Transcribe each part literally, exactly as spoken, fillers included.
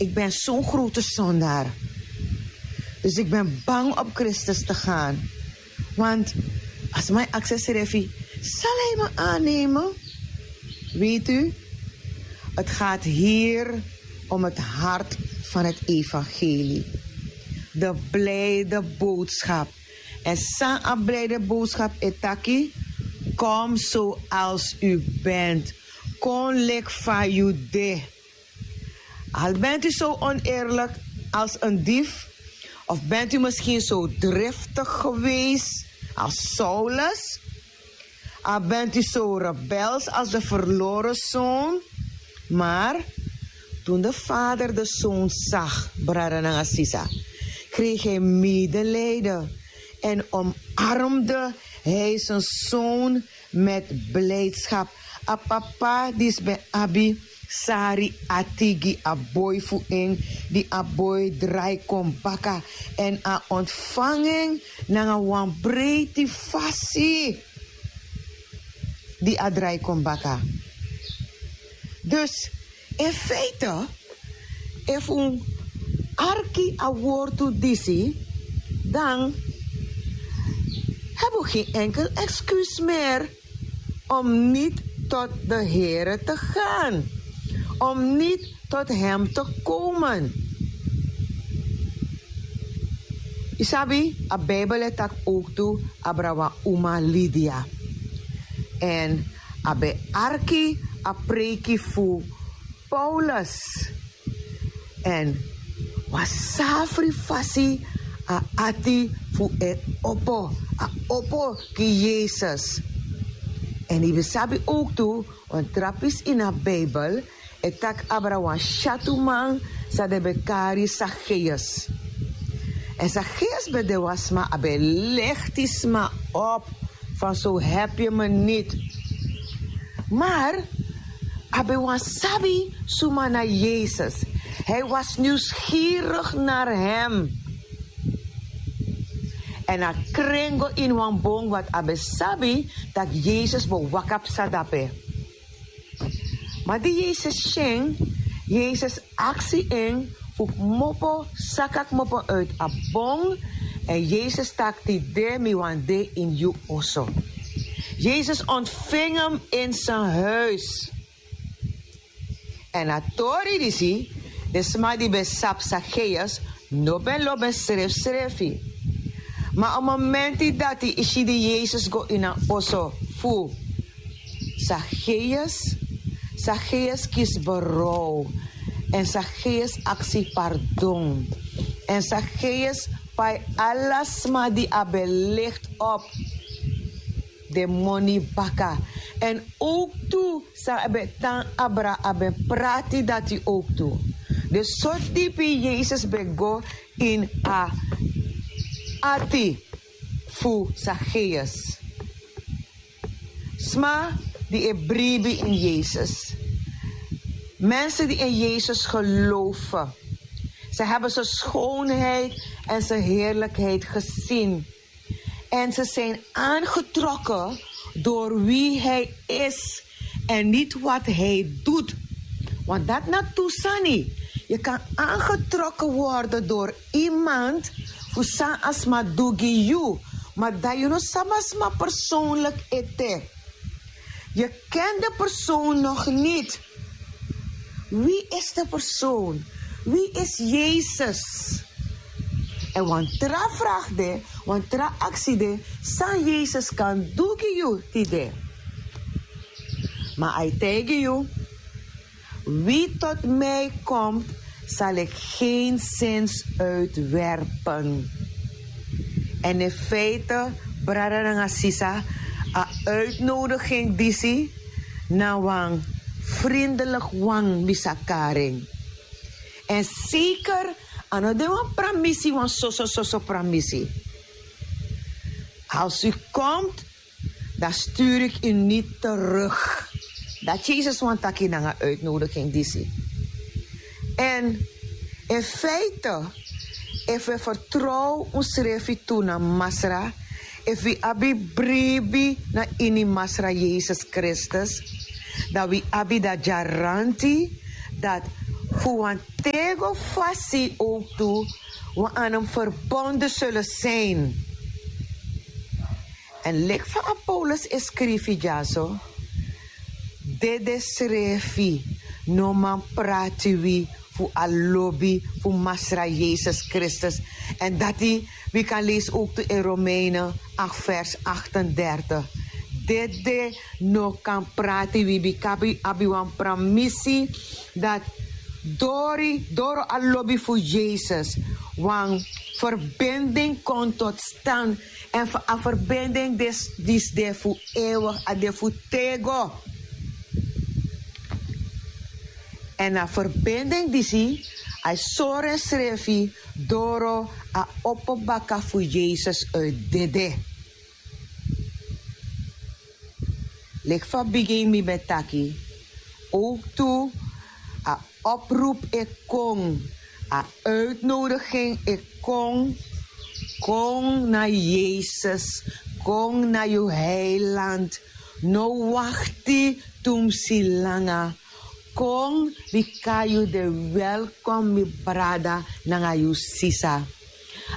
Ik ben zo'n grote zondaar. Dus ik ben bang op Christus te gaan. Want als mijn access refi, zal hij me aannemen? Weet u, het gaat hier om het hart van het evangelie. De blijde boodschap. En san a blijde boodschap e taki: kom zoals u bent. Kon lik fa yu de. Al bent u zo oneerlijk als een dief, of bent u misschien zo driftig geweest als Saulus, al bent u zo rebels als de verloren zoon. Maar toen de vader de zoon zag, brada nanga sisa, kreeg hij medelijden en omarmde hij zijn zoon met blijdschap. A papa disi ben abi sari ati gi a boi fu en, di a boi drai kon baka, èn a ontfang en nanga wan breiti fasi di a drai kon baka. Dus in feite, efu un arki a wortu disi, dan hebben we geen enkel excuus meer om niet tot de Here te gaan, om niet tot Hem te komen. Yu sabi, a Bijbel e taki ook tu abra wan uma Lydia. En a ben arki a preiki fu Paulus. En wan safri fasi a ati fu en opo, a opo gi Yesus. En yu ben sabi ook tu, wan tra pisi ini a Bijbel e taki abra wan syatuman san den ben kari Zacchaeus. En Zacchaeus ben de wan sma, a ben lichti sma op van zo heb je me niet. Maar a ben wan sabi suma na Yesus. Hij was nieuwsgierig naar Hem. En a kren go ini wan bon, want a ben sabi dat Yesus ben waka psa dape. Ma di Yesus si en, Yesus aksi en fu kmopo, saka kmopo uit a bon. En Yesus taki: tide mi wani de ini yu oso. Yesus ontving hem in zijn huis. En a tori disi, den sma di ben sabi Zacchaeus no ben lobi en srefsrefi. Ma a momenti dati yu si di Yesus go ini a oso fu Zacchaeus, Zacchaeus kisi berouw. En Zacchaeus aksi pardon. En Zacchaeus pai ala sma di a ben licht op den moni baka. En ook tu san a ben tan abra, a ben prati dati ook tu. Dus so dipi Yesus ben go ini a ati fu Zacchaeus. Sma di e bribi in Yesus. Mensen die in Yesus geloven. Ze hebben zijn schoonheid en zijn heerlijkheid gezien. En ze zijn aangetrokken door wie hij is en niet wat hij doet. Want dat na tu sani. Je kan aangetrokken worden door iemand fu san a sma du gi yu. Maar dat je no sabi a sma persoonlijk ete. Je kent de persoon nog niet. Wie is de persoon? Wie is Jezus? En wan tra vraag de, wan tra aksi de, san Yesus kan du gi yu tide. Ma a e taigi yu: wie tot mij komt, zal ik geenszins uitwerpen. En in feite, brada nanga sisa, a uitnodiging disi na wan vriendelijk wan bisa kari en. En zeker, a no de wan pramisi, wan soso soso pramisi. Als u komt, dan stuur ik u niet terug. Dat Yesus wani taki nanga uitnodiging disi. En in feite, efu wi vertrouw unsrefi tu na Masra, efu wi abi bribi na ini Masra Yesus Kristus, dan wi abi dati garanti dat fu wan tego fasi ook tu wan anam verbonden zullen zijn. En lik fa a paulus e skrifi dyaso, dede srefi no man prati wi fu a lobi fu masra yesus kristus. En dati wi kan leisi ook tu in romeinen acht vers achtendertig. Dede no kan prati wi bika wi abi wan pramisi dat dori doro a lobi fu yesus wan verbinding kon tot stand. En fu a verbinding dis dis de fu ewig a de fu tego. En a verbinding disi a sori en srefi doro a opo baka fu yesus uit dede. Leki fa bigin mi ben taki, ook tu a oproep e kon, a uitnodiging e kon. Kon na yesus, kon na yu heiland. No wakti tumsi langa. Kon bika yu de welkom mi brada nanga yu sisa.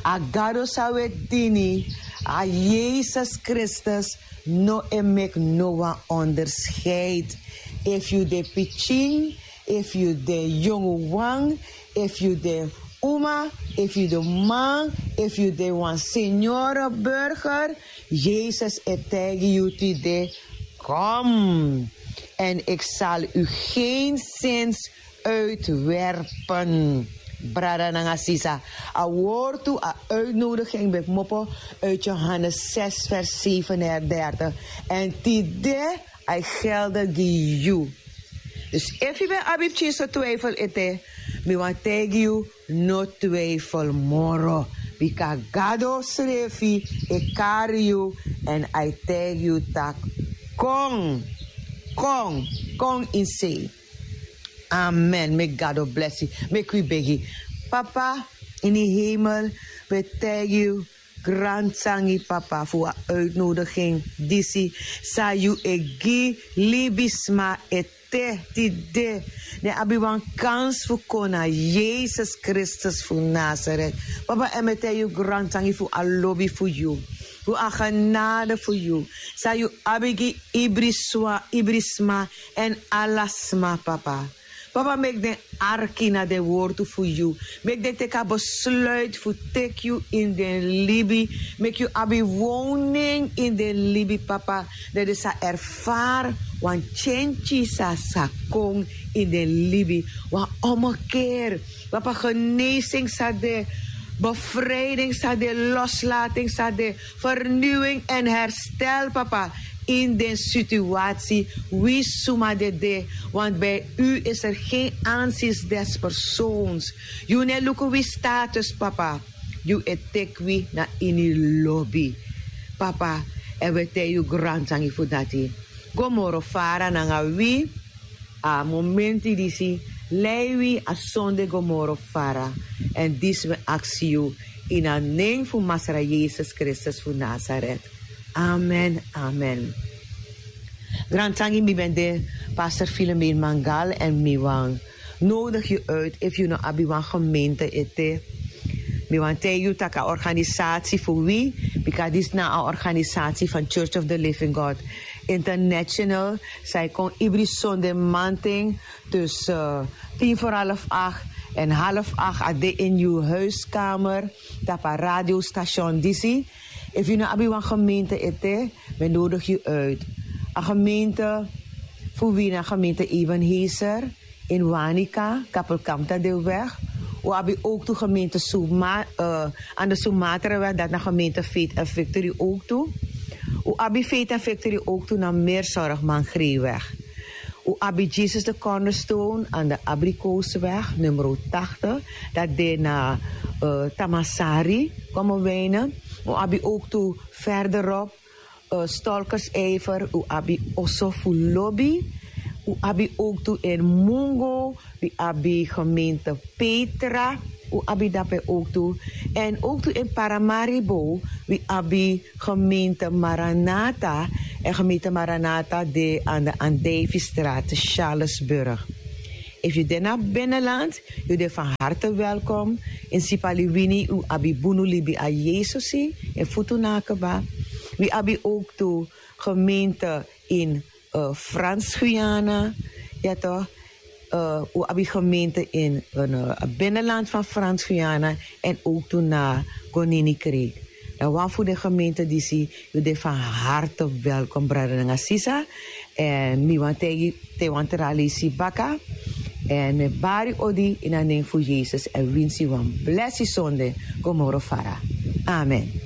A gado san wi e dini, a yesus kristus, no e meki no wan onderscheid. Efu yu de pikin, efu yu de yongu wan, efu yu de uma, efu yu de man, efu yu de wan seniore burger, yesus e taigi yu tide. Kom, en ik zal u geenszins uitwerpen. Brada nanga sisa, a wortu a uitnodiging ben kmopo uit johannes zes vers zevenendertig. En tide a gelde gi yu. Dus efu yu ben abi pikin so twijfel ete, mi wan taigi yu, no twijfel moro. Bika gado srefi e kari yu, en a e taigi yu tak, kon, kon, kon in sei. Amen. Meki gado blesi. Meki wi begi. Papa, ini hemel, we taigi yu, grantangi papa fu a uitnodiging disi san yu e gi libisma ete tide. Den abi wan kans fu kon na yesus kristus fu nasaret. Papa, en mi e taigi yu grantangi fu a lobi fu yu, fu a genade fu yu, san yu abi gi ibri sma, ibri sma, en ala sma papa. Papa, meki den arki na den wortu fu yu. Meki den teki a besluit fu teki yu in den libi. Meki yu abi woning in den libi papa, dan den sa erfari wan tyentyi san sa kon in den libi. Wan ommekeer, papa, genezing sa de, bevrijding sa de, loslating sa de, vernieuwing en herstel papa, in den situatie wi suma dede. Want bij u is er geen aanzien des persoons. Yu no e luku wi status papa, yu e teki wi na ini lobi. Papa, en wi e taigi yu grantangi fu dati. Go moro fara nanga wi a momenti disi, lei wi a sonde go moro fara. En disi mi aksi yu in a nen fu masra yesus kristus fu nasaret. Amen, amen. Grantangi, mi ben de pastor filomeen mangal, en mi wan nodig yu uit efu yu no abi wan gemeente ete. Mi wan taigi yu tak' a organisatie fu wi, bika disi na a organisatie van church of the living god international, san e kon ibri sonde manten tussen tin voor half acht en half acht a de in yu huiskamer, tapu a radiostation disi. Efu yu no abi wan gemeente ete, mi e nodig yu uit. A gemeente fu wi na gemeente ebenhezer in wanika, kapelkamp tadeweg. Un abi ook tu gemeente, aan de sumatraweg, dat na gemeente faith and victory ook tu. Un abi faith and victory ook tu na meerzorg mangreeweg. Un abi jesus de cornerstone aan de abrikoosweg nummer tachtig, dat de na tamasari, komen wijnen. Un abi ook tu verderop, stolkersijver, un abi oso fu lobi. Un abi ook tu in mungo, wi abi gemeente petra, un abi dape ook tu. En ook tu in paramaribo, wi abi gemeente maranata. En gemeente maranata de aan de andijvistraat, charlesburg. Efu yu de na binnenland, yu de van harte welkom. In sipaliwini wi abi bunu libi a yesusi, in futu na keba. Wi abi ook tu gemeente in uh, Frans-Guyana. Ja toch? Uh, u abi gemeente in een uh, binnenland van Frans-Guyana en ook toen na Konini kreeg. Dan wan fu de gemeente disi, yu de van harte welkom, brada nanga sisa. En mi wan tegi te wan tra leisi baka. En mi bari odi in a nen fu Jesus en winsi wan blessi sonde. Go moro fara. Amen.